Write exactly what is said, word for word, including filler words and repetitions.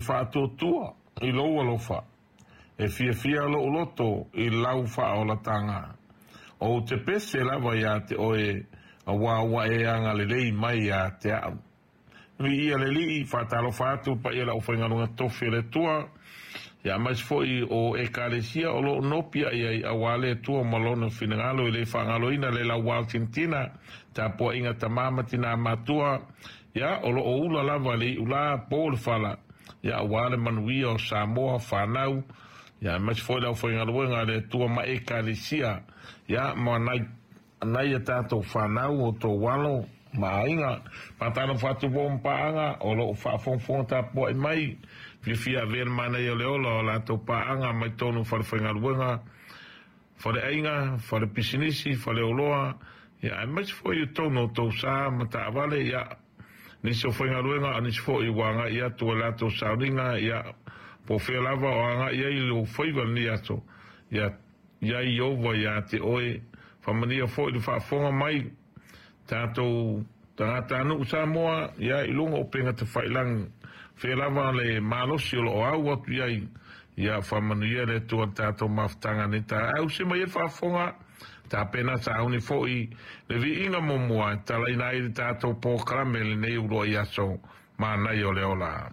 faatuatua i lou alofa, e fiafia lou loto i lau faaolataga. Ou te pese lava iā te oe, auā ua e agalelei mai iā te a'u. Viia le Alii, faatalofa atu i le paia o le aufaigaluega tofi a le Atua, ia aemaise foi o Ekalesia o lo o nopiai ai auā le Atua ma Lona finagalo. E le faagaloina le lauaotintina, tapuaiga tama ma tinā matua, ia o lo o ula lava le iulā po le fala, ia auā le manuia o Samoa, fanau, ia aemaise foi le aufaigaluega a le Atua ma Ekalesia, ia ma nai nai a tatou fanau o tou alo ma aiga. Faatalofa atu foi ma paaga o lo o faafogafoga tapuai mai, fiafia avea le manaia o le ola o latou paaga mai totonu o falefaigaluega, faleaiga, falepisinisi, faleoloa, ia aemaise foi i totonu o tou sa ma taavale, ia nisi o faigaluega a nisi foi ua agai atu e latou sauniga, ia po o fea lava o agai ai lou faiva i lenei aso, ia ia Ieova ia te oe. Faamanuia foi le faafofoga mai tatou tagatanuu Samoa, ia i luga o upega tafailagi, fea lava le malosi o lo o au atu i ai, ia faamanuia le Atua i le tatou mafutaga nei taeao. Se mai ai le faafofoga tapena sauni foi le viiga muamua e talaina ai le tatou polokalame lenei uluai aso manaia o le ola.